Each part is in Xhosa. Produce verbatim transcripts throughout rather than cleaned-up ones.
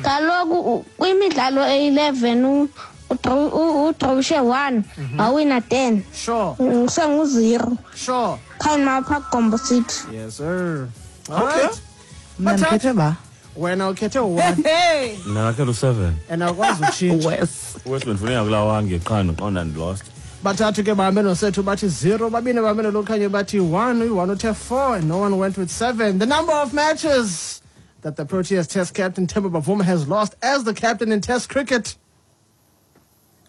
Kaloku u- kwimidlalo eyi-eleven u- udraw- u- udrawishe one, wawina ten. Sure. Mm, Sengu-zero. Sure. Khawuni phaa Gombo City. Yes, sir. All Okay. right. Mna ndikhethe ba. Wena ukhethe u-one Hey. Mna ndakhetha u-seven. and awukwazi utshintsha. Wes. Wes bendifuna kulaa wange qha ndiqonda ndilost. Bathathu ke bahambe nosethu bathi zero, babini bahambe nolokhanye bathi one, uyi-one uthe four, and no one went with seven. The number of matches that the Proteas Test captain Temba Bavuma has lost as the captain in Test cricket.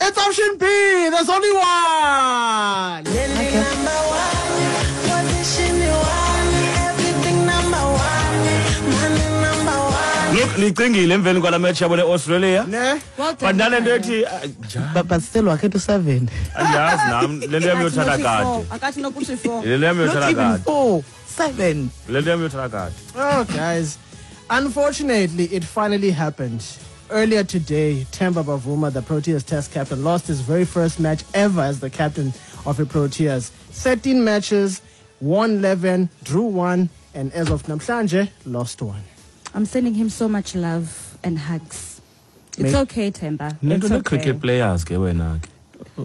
It's option B. There's only one. Number one, position one, everything number one, money number one. Look, ndicingile emveni kwala match yabo ne-Australia. Ne? Well But done. nale nto ethi ah, njani? But, but still wakhetha u-seven. Andiyazi nam le nto yam yothatha kade. Akathi nokuthi four. Le nto yam Not yothatha even kade. four. Seven. Le nto yam yothatha kade. Oh, guys. Unfortunately, it finally happened. Earlier today, Temba Bavuma, the Proteas Test captain, lost his very first match ever as the captain of the Proteas. thirteen matches, won eleven, drew one, and as of namhlanje, lost one. I'm sending him so much love and hugs. It's May- okay, Temba. Nento It's okay. ne-cricket players ke wena ke.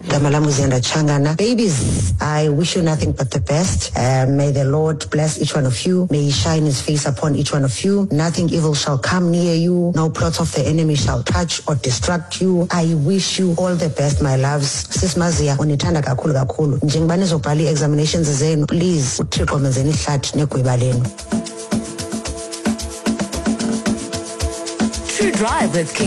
Gama lam uZiyanda Tshangana. Babies, I wish you nothing but the best. Uh, may the Lord bless each one of you. May he shine his face upon each one of you. Nothing evil shall come near you. No plots of the enemy shall touch or distract you. I wish you all the best, my loves. Sis Mazia, unithanda kakhulu kakhulu. Njengoba nizobhala ii-examinations zenu, please, uThixo menzeni ihlathi negwiba lenu. True Drive with King